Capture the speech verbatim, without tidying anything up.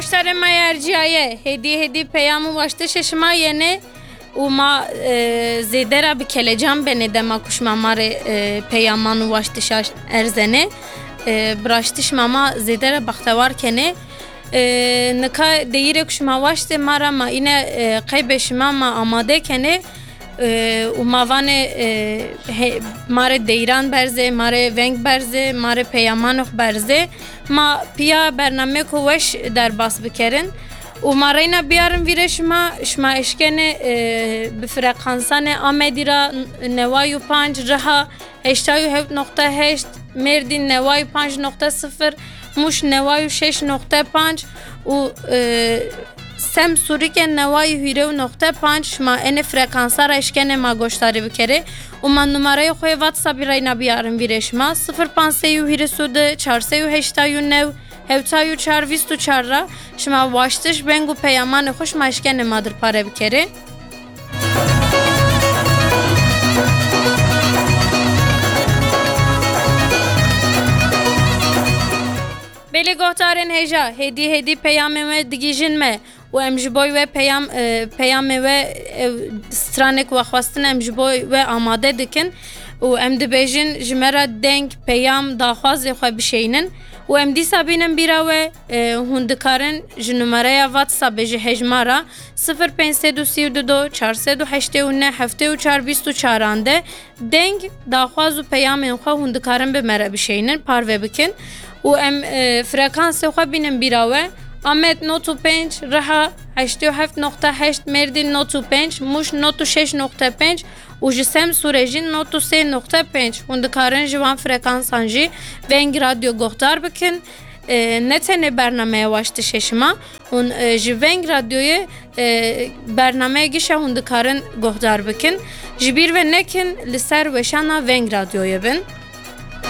Goştarê me erciyaye, hêdî hêdî peyam û waştişê şima yene û ma, e, zêde re bi kelecan benê dema ku şima ma rê, e, peyaman û waştişa erzenê. E, bi raştî şima ma zêde re bextewar kenê. E, nika deyîrê ku şima waştê ma re ma îne, e, qeybê şima ma amade kenê. E, û ma vanê, e, he-, ma rê deyran berzê, ma rê veng berzê, ma rê peyamanok berzê. Ma piya bernameyeko weş derbas bikerin. Û ma reyna biyarin vîrê şima, şima eşkenê, e, bi frekansanê Amedî ra neway û panc, Riha heştay û heft nokta heşt, Mêrdîn neway û panc nokta sifir, Mûş neway û şeş nokta panc û, e, Semsûrike neway û hîrê û nokta panc, şima enê frekansa re eşkenê ma goşdarî bikerê û ma numareyê xwe yê WhatsAppî reyna biyarin vîrê şima, sifir panc sey û hîris û du, çar sey û heştay û new, hewtay û çar, vîst û çar ra şima waştiş, veng û peyamanê xwe şima eşkenê ma dirpare bikerê. Belê guhdarên hêja, hêdî hêdî peyamên we digihîjin me û em ji bo we peyam, e, peyamê we, e, stranek we xwestin em ji bo we amade dikin û em dibêjin ji me re deng, peyam, daxwazê xwe bişeynin û em dîsa bînin bîra we, e, hûn dikarin ji numareya WhatsAppê ji hejmara sifir pênc sed û sî û du, çar sed û heştê û neh, heftê û çar, vîst û çaran de deng, daxwaz û peyamên xwe hûn dikarin bi me re bişeynin, parve bikin û em, e, frekansê xwe bînin bîra we. Amed nod û pênc, Riha heştê û heft nokta heşt, Mêrdîn nod û pênc, Mûş nod û şeş nokta pênc û ji Semsûrê jî nod û sê nokta pênc. Hûn dikarin ji wan frekansan jî Veng Radyo guhdar bikin. E, ne tenê bernameya waştişê şima, hûn, e, ji Veng Radyoyê, e, bernameya gişa hûn dikarin guhdar bikin. Ji bîr ve nekin li ser weşana Veng Radyoyê bin.